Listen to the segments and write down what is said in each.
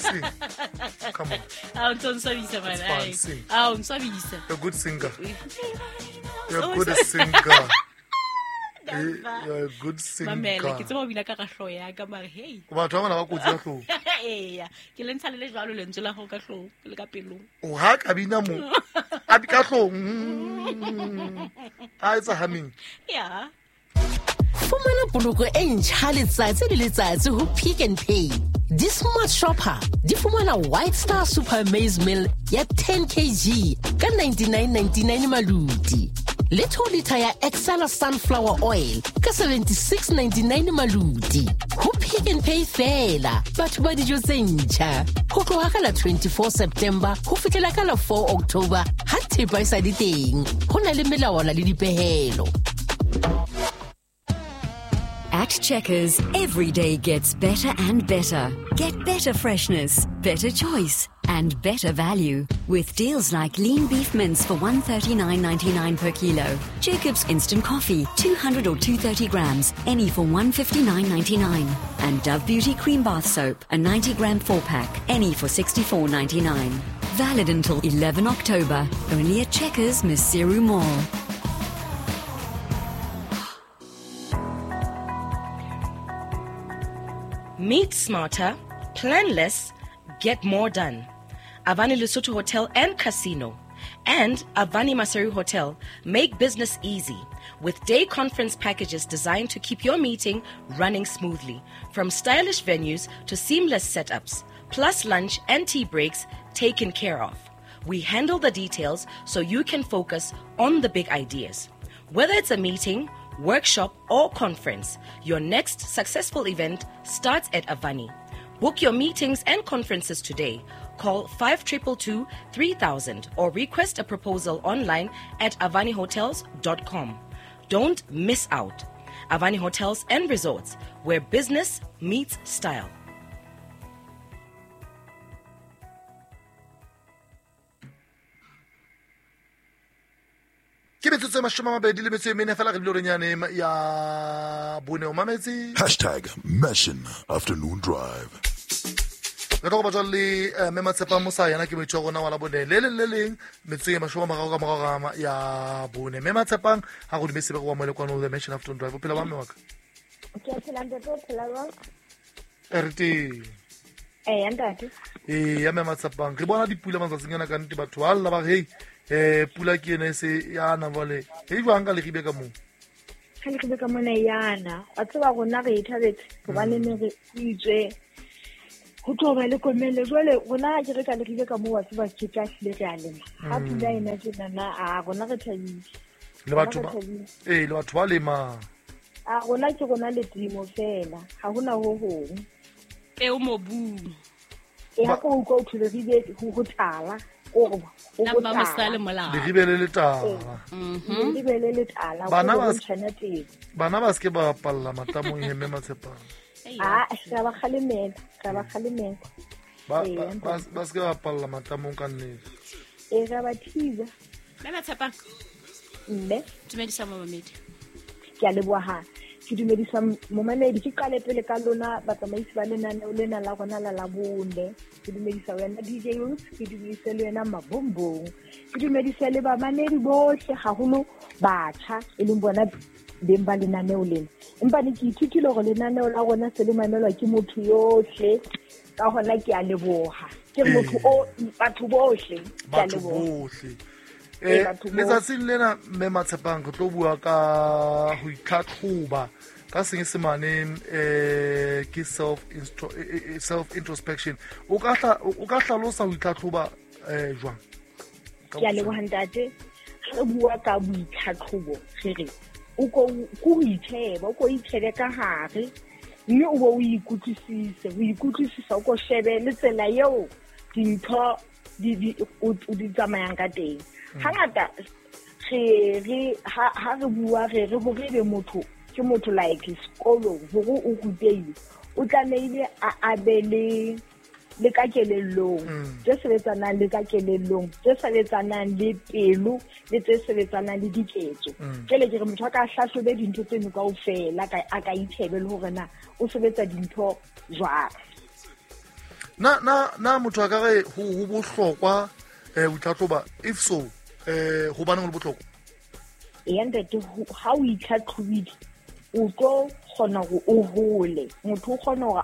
Sing. Come on. A o ntso nswabisa It's man. fine, sing. A o nswabisa. You're a good singer. You're a good singer. You're a good singer. Mamela, ke tseba o bina ka ga hlooho ya ka mare hey. Batho ba bana ba kotsi ya hlooho. Eya, ke le ntsha le le jwalo lentswe la gago ka hlooho le ka pelong. O ha ka bina mo. A bi ka hlooho. Mm. A etsa humming. Yeah. Fumana poloko e ntjha letsatsi le letsatsi ho Pick n Pay. Di-smart shopper di fumana White Star Super Maize Meal ya 10 kg ka 99.99 maluti. Le 2 litre ya Excella Sunflower Oil ka 76.99 maluti. Ho Pick n Pay fela, batho ba dijo tse ntjha. Ho tloha ka la 24 September ho fihlela ka la 4 October ha thepa e sa le teng. Ho na le melawana le dipehelo. At Checkers, every day gets better and better. Get better freshness, better choice, and better value with deals like lean beef mince for $139.99 per kilo, Jacob's instant coffee 200 or 230 grams, any for $159.99, and Dove Beauty cream bath soap, a 90 gram 4-pack, any for $64.99. Valid until 11 October, only at Checkers Maseru Mall. Meet smarter, plan less, get more done. Avani Lesotho Hotel and Casino and Avani Maseru Hotel make business easy with day conference packages designed to keep your meeting running smoothly, from stylish venues to seamless setups, plus lunch and tea breaks taken care of. We handle the details so you can focus on the big ideas. Whether it's a meeting, workshop, or conference, your next successful event starts at Avani. Book your meetings and conferences today. Call 5222 3000 or request a proposal online at avanihotels.com. Don't miss out. Avani Hotels and Resorts, where business meets style. Ke metsotso e 24 fela re bile horeng yane ya bone o mametse. Hashtag Mission Afternoon Drive. Re tlo go batla le mme Matshepa Mosa yena ke moithuti wa rona wa la bone le leng le leng metsotso e 30 ka morago ga ya bone. Mme Matshepang ha go dumetse go wa mo le kwano the Mission Afternoon Drive. O phela ba mme wa ka? Ke a phela ntate, o phela jwang? Re teng. Eya ntate. Eya mme Matshepang, re bona dipula matsatsing ana ka nnete batho ba lla ba re hey pula ke ena e se yana jwale. E jwang ka Leribe ka moo? Ka Leribe ka mona yana. Wa tseba rona re ithabetse hobane ne re itswe ho tlo ba le komello. Jwale rona ha ke re ka Leribe ka moo wa tseba ke tla hlile re a lema. Ha pula ena tjenana a rona re thabile. Le batho ba le batho ba lema. A rona ke rona le temo fela. Ha hona ho hong. Peo mobung. E ha ko utlwa o thole Leribe ho tala. Leribe le letala. Leribe le letala. Bana ba se ke ba palla matamong he mme Matshepang. Ah, re ba kgalemela, re ba kgalemela. Ba se ke ba palla matamong ka nnete. E re ba thiba. Mme Matshepang. Mme dumedisa momamedi. Ke a leboha. Ke dumedisa momamedi, ke qale pele ka lona batsamaisi ba lenaneo lena la rona la Labone. Ke dumedisa wena DJ Roots, ke dumedisa le wena Mabombong. Ke dumedisa le bamamedi bohle haholo batjha e leng bona beng ba lenaneo lena. Empa ne ke ithutile hore lenaneo la rona se le mamelwa ke motho yohle, ka hona ke a leboha. Ke motho o batho bohle, ke a leboha. Batho bohle. Letsatsing lena mme Matshepang re tlo bua ka ho itlhatlhoba ka senyesemane ke self introspection. O ka hlalosa ho itlhatlhoba jwang? Ke a leboha ntate. Ha re bua ka boitlhatlhobo re re o ko ho itsheba, o ko itshebe ka hare mme o bo o ikutlwisise, o ikutlwisisa o ko shebe le tsela eo dintho di di tsamayang ka teng. Hangata re ha re bua re re hore be motho ke motho like sekolong hore o rutehile o tlamehile a abe le ka kelellong tse sebetsanang le ka kelellong tse sebetsanang le pelo le tse sebetsanang le diketso. Jwale ke re motho a ka hlahlobe dintho tseno kaofela a ka itshebe le hore na o sebetsa dintho jwang. Na motho a ka re ho bohlokwa ho itlhatlhoba, if so hobaneng ho le bohlokwa? Eya ntate, ha o itlhatlhobile o tlo kgona hore o hole. Motho o kgona hore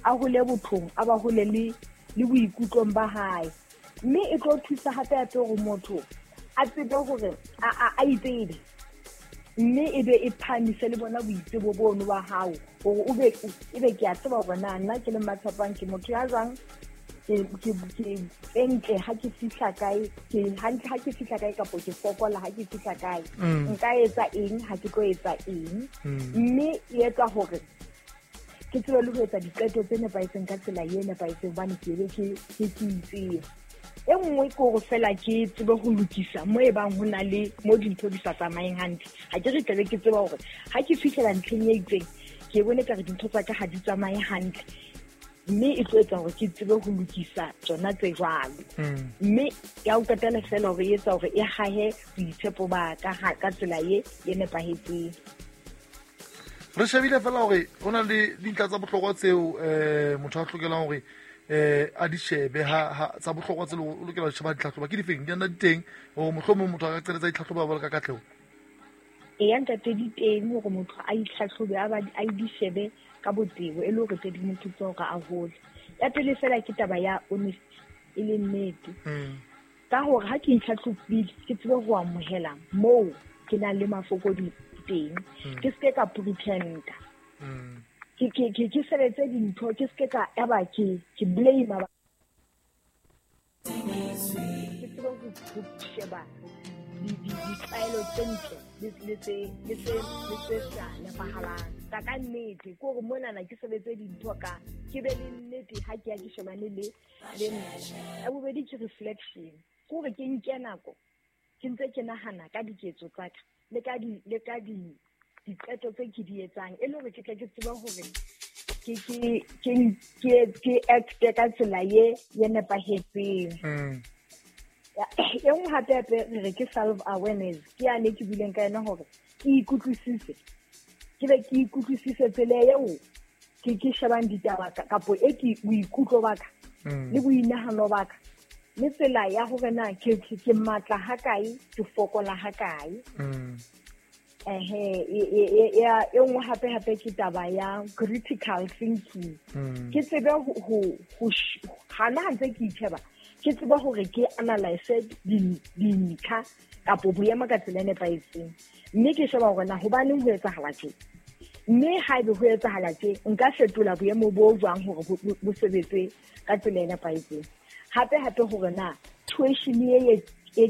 a hole bothong, a ba hole le boikutlong ba hae. Mme e tlo thusa hape hape hore motho a tsebe hore a itsebe, mme e be e phahamise le bona boitsebo bono ba hao, hore o be ebe ke a tseba hore na nna ke le Mmatshepang ke motho ya jwang, ke ntle ha ke fihla kae, ke hantle ha ke fihla kae, kapo ke fokola ha ke fihla kae, nka etsa eng ha ke tlo etsa eng. Mme e etsa hore ke tsebe le ho etsa diqeto tse nepahetseng ka tsela e nepahetseng, hobane ke be ke itsebe. E nngwe ke hore fela ke tsebe ho lokisa mo e bang ho na le mo dintho di sa tsamayeng hantle. Ha ke re tlabe ke tseba hore ha ke fihlela ntlheng e itseng, ke bone ka re dintho tsa ka ha di tsamaye hantle, mme e tlo etsa hore ke tsebe ho lokisa tsona tse jwalo. Mme ya ho qetela fela hore e etsa hore e hahe boitshepo ba ka ka tsela e nepahetseng. Re shebile fela hore ho na le dintlha tsa bohlokwa tseo motho a hlokelang hore a di shebe, ha tsa bohlokwa tse o lokela ho sheba ditlhatlhoba ke difeng, di nna di teng hore mohlomong motho a ka qeletsa ditlhatlhoba ba ka katleho? Eya ntate, di teng hore motho a itlhatlhobe, a di shebe ka botebo, e le hore tse di mo thuse hore a hole. Ya pele fela ke taba ya honesty, e leng nnete. Ka hore ha ke itlhatlhobile, ke tsebe ho amohela moo ke nang le mafokodi teng, ke seke ka pretenda. Ke sebetse dintho, ke seke ka eba ke blame ba. Ke tsebe ho sheba ditlwaelo tse ntle le tse sa nepahalang. Ka nnete, ke hore monana ke sebetse dintho ka, ke be le nnete ha ke ya ke shebane le nna. Ya bobedi ke reflection, ke hore ke nke nako ke ntse ke nahana ka diketso tsa ka le ka diqeto tse ke di etsang, e le hore ke tle ke tsebe hore ke acte ka tsela ye nepahetseng. E nngwe hape hape re re ke self awareness, ke yane ke buileng ka yona hore ke ikutlwisise, ke be ke ikutlwisise tsela eo ke shebang ditaba kapo e ke boikutlo ba ka le boinahano ba ka, le tsela ya hore na ke matla ha kae, ke fokola ha kae. E nngwe hape hape ke taba ya critical thinking. Ke tsebe ho hana ha ntse ke itjheba, ke tsebe hore ke analyse dintlha kapo boemo ka tsela e nepahetseng, mme ke sheba hore na hobaneng ho etsahala tje, mme haebe ho etsahala tje nka fetola boemo bo jwang hore bo sebetse ka tsela e nepahetseng. Hape hape hore na situation e